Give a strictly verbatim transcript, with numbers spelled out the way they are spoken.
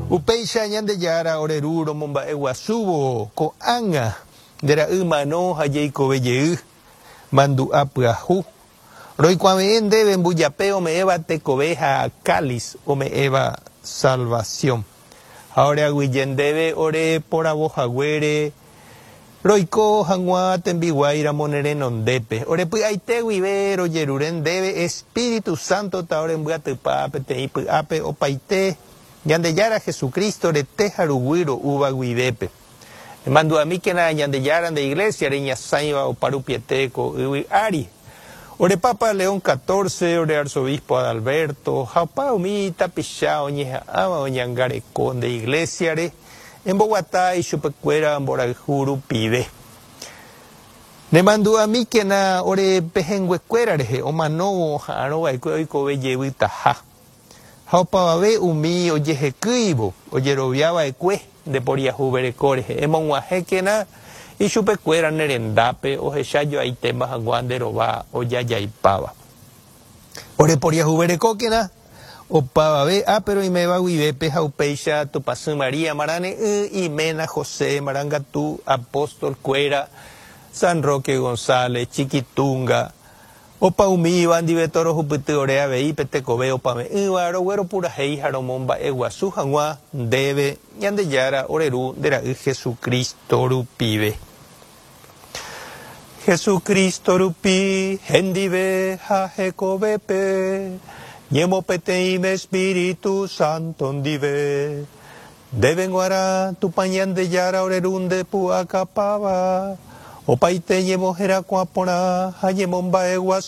Upéicha Ñandejára ore Ru romomba'eguasúvo ko'ág̃a nde ra'y mano ha jeikove jey mandu'a pyahu. Roikuave'ẽ ndéve mbujape ome'ẽva tekove ha cáliz ome'ẽva salvación. Ha oreaguyje ndéve ore poravohaguére roiko hag̃ua tembiguáiramo ne renondépe. Orepy'aite guive rojerure ndéve Espíritu Santo ta orembyatypa peteĩ py'ápe opaite Ñandejára Jesucristo rete ha ruguy ro'úva guivépe. Emandu'amíkena Ñandejára nde iglesia reñasãiva oparupiete ko yvy ári. Ore Papa León catorce, ore arzobispo Adalberto, ha opa umi tapicha oñeha'ãva oñangareko nde iglesiare, emboguata ichupekuéra mborayhu rupive. Nemandu'amíkena ore pehẽnguekuéra rehe omanóvo oha'arõva'ekue oikove jevytaha. Ha opavave umi ojehekýivo ojeroviava'ekue nde poriahuvereko rehe. Emog̃uahẽkena ichupekuéra ne rendápe ohechajoaitéma hag̃ua nde rova ojajaipáva. Ore poriahuverekókena opavave ápe roiméva guivépe ha upéicha Tupãsy María Marane'ỹ, iména José Marangatu, apóstol-kuéra, San Roque González, Chiquitunga, opa umíva ndive torohupyty ore avei pe tekove opave'ỹva rogueropurahéi ha romomba'eguasu hag̃ua ndéve Ñandejára ore Ru nde ra'y Jesucristo rupive. Jesucristo rupi hendive ha hekovépe ñemopeteĩme Espíritu Santo ndive. Ndéve g̃uarã Tupã Ñandejára ore Ru nde pu'akapáva opaite ñemoherakuã porã ha ñemomba'eguasu.